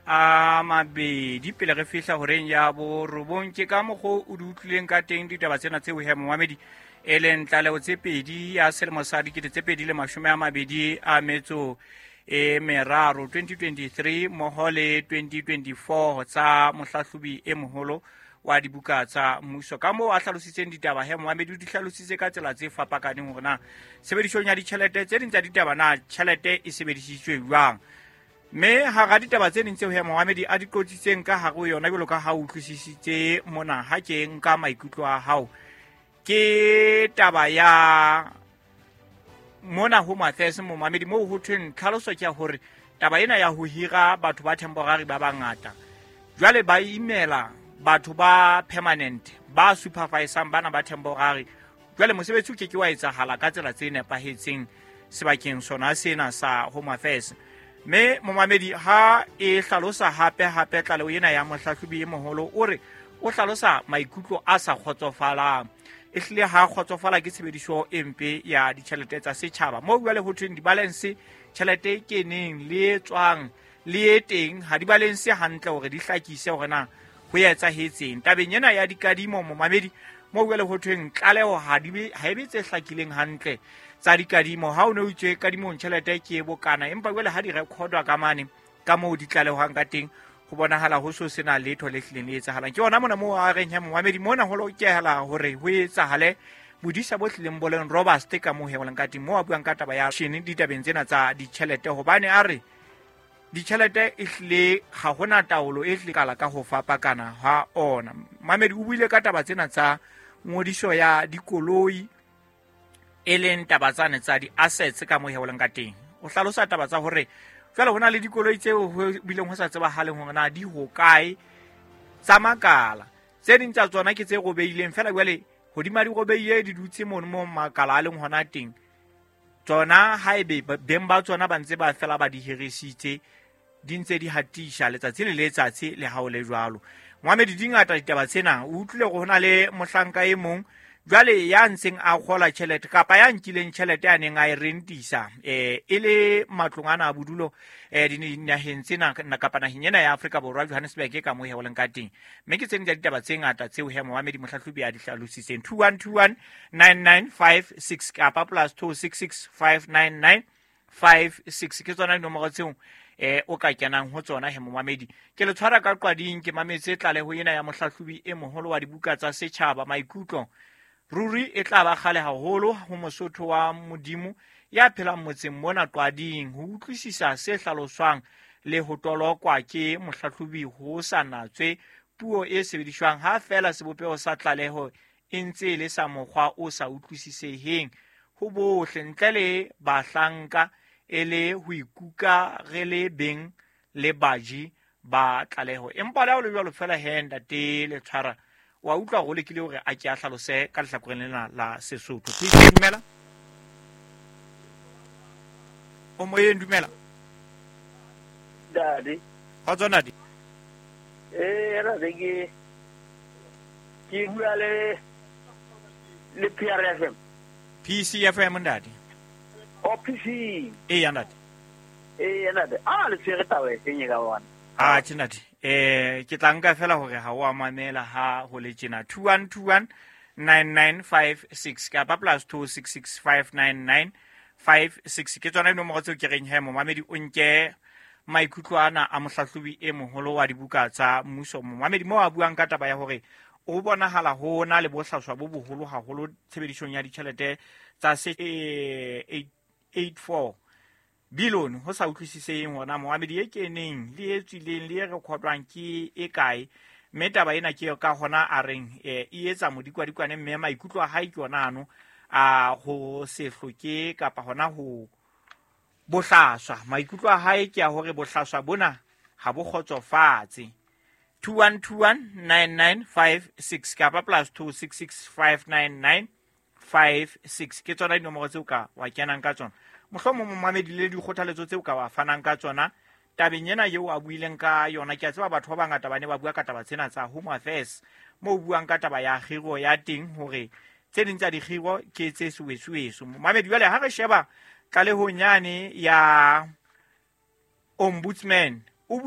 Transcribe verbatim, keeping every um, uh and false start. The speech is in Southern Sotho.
A mabedi pele re fihla horeng ya borobong. Ke ka mokgwa o di utlwileng ka teng ditaba tsena tseo he momamedi, e leng tlaleho tse pedi ya selemo sa dikete tse pedi le mashome a mabedi a metso e meraro, twenty twenty-three mmoho le twenty twenty-four, tsa mohlahlobi e moholo wa dibuka tsa mmuso. Ka moo a hlalositseng ditaba he momamedi, o di hlalositse ka tsela tse fapakaneng hore na tshebedisong ya ditjhelete tse ding tsa ditaba na tjhelete e sebedisitswe jwang. Mme hara ditaba tse ding tseo he momamedi a di qotsitseng ka hare ho yona, jwalo ka ha o utlwisisitse mona, ha ke nka maikutlo a hao, ke taba ya mona ho Matthias momamedi, moo ho thweng tlhaloso ke ya hore taba ena ya ho hira batho ba temporary ba bangata, jwale ba imela batho ba permanent ba supervisang bana ba temporary. Jwale mosebetsi o ke ke wa etsahala ka tsela tse nepahetseng sebakeng sona sena sa Home Affairs. Mme momamedi ha e hlalosa hape hape tlaleho ena ya mohlahlobi e moholo, o re o hlalosa maikutlo a sa kgotsofalang, ehlile ha kgotsofala ke tshebediso e mpe ya ditjhelete tsa setjhaba. Moo jwale ho thweng di-balance, tjhelete e keneng le e tswang le e teng ha di balance hantle hore di hlakise hore na ho etsahetseng. Tabeng ena ya dikadimo momamedi, moo jwale ho thweng tlaleho ha di be, ha e be tse hlakileng hantle tsa dikadimo. Ha o ne o itswe kadimong tjhelete ke e bokana, empa jwale ha di recordwa ka mane ka moo di tlalehwang ka teng, ho bonahala ho so sena letho le hlileng le etsahalang. Ke hona mona moo a reng he momamedi, mona ho lokela hore ho etsahale bodisa bo hlileng bo leng robust ka moo he ho leng ka teng, moo a buang ka taba ya shene ditabeng tsena tsa ditjhelete, hobane a re ditjhelete e hlile ha hona taolo e hlile kala ka ho fapakana ha ona. Mamedi o buile ka taba tsena tsa ngodiso ya dikoloi, e leng taba tsane tsa di-assets ka moo he ho leng ka teng. O hlalosa taba tsa hore jwale ho na le dikoloi tseo ho bileng ho sa tsebahaleng hore na di hokae tsa makala. Tse ding tsa tsona ke tse robeileng feela, jwale hodima di robeile di dutse mono mo makala a leng hona teng. Tsona haebe beng ba tsona ba ntse ba fela ba di hirisitse, di ntse di hatisha letsatsi le letsatsi le ha o le jwalo. Mohamedi, di ngata ditaba tsena. O utlwile hore ho na le mohlanka e mong jwale ya ntseng a kgola tjhelete kapa ya nkileng tjhelete a neng a e rentisa eh e le matlong ana a bodulo eh dinaheng tsena kapa naheng ena ya Afrika Borwa, Johannesburg ka moo he ho leng ka teng. Mme ke tse ding tsa ditaba tse ngata tseo he Mohamedi mohlahlobi a di hlalositseng. two one two one nine nine five six kapa plus two six six five nine nine five six ke tsona dinomoro tseo eh o ka kenang ho tsona he momamedi. Ke le tshwara ka qwading, ke mametse tlaleho ena ya mohlahlobi e moholo wa dibuka tsa setjhaba. Maikutlo ruri e tla ba kgale haholo ho Mosotho wa Modimo ya phelang motseng mona Qwading ho utlwisisa se hlaloswang le ho tolokwa ke mohlahlobi ho sa natswe puo e sebediswang, ha feela sebopeho sa tlaleho e ntse e le sa mokgwa o sa utlwisiseheng ho bohle ntle le bahlanka, e le ho ikuka re le beng le baji ba tlaleho. Empa le ha ho le jwalo feela he ntate le tshwara, wa utlwa hore o lekile hore a ke a hlalose ka lehlakoreng lena la Sesotho. Please, dumela. O moyeng, dumela. Dadi. Kgotso ntate. Eh, ra ke ke bua le le P R F M. P C F M ntate. O P C. Eh, ntate. Eh, ntate. Ah, le tshwere taba e seng e ka bona. Ah, tjhe ntate. Eh, ke tla nka fela hore ha o a mamela ha ho le tjena. two one two one nine nine five six kapa plus two six six five nine nine five six ke tsona dinomoro tseo ke reng he momamedi o nke maikutlo ana a mohlahlobi e moholo wa dibuka tsa mmuso. Momamedi moo a buang ka taba ya hore o bonahala ho na le bohlaswa bo boholo haholo tshebedisong ya ditjhelete tsa se eight four billion ho sa utlwisiseng hona momamedi e keneng le e tswileng le e rekhodwang ke e kae. Mme taba ena ke ka hona a reng e etsa modikwadikwane, mme maikutlo a hae ke ona ano a ho se hloke kapa hona ho bohlaswa. Maikutlo a hae ke a hore bohlaswa bona ha bo kgotsofatse. two one two one nine nine five six kapa plus two six six five nine nine five six ke tsona dinomoro tseo ka wa kenang ka tsona. Mohlomong momamedi le dikgothaletso tseo ka wa fanang ka tsona tabeng ena eo a buileng ka yona. Ke a tseba batho ba bangata ba ne ba bua ka taba tsena tsa Home Affairs, moo buang ka taba ya kgiro ya teng hore tse ding tsa dikgiro ke tse suwesuweso. Momamedi jwale ha re sheba tlalehong yane ya ombudsman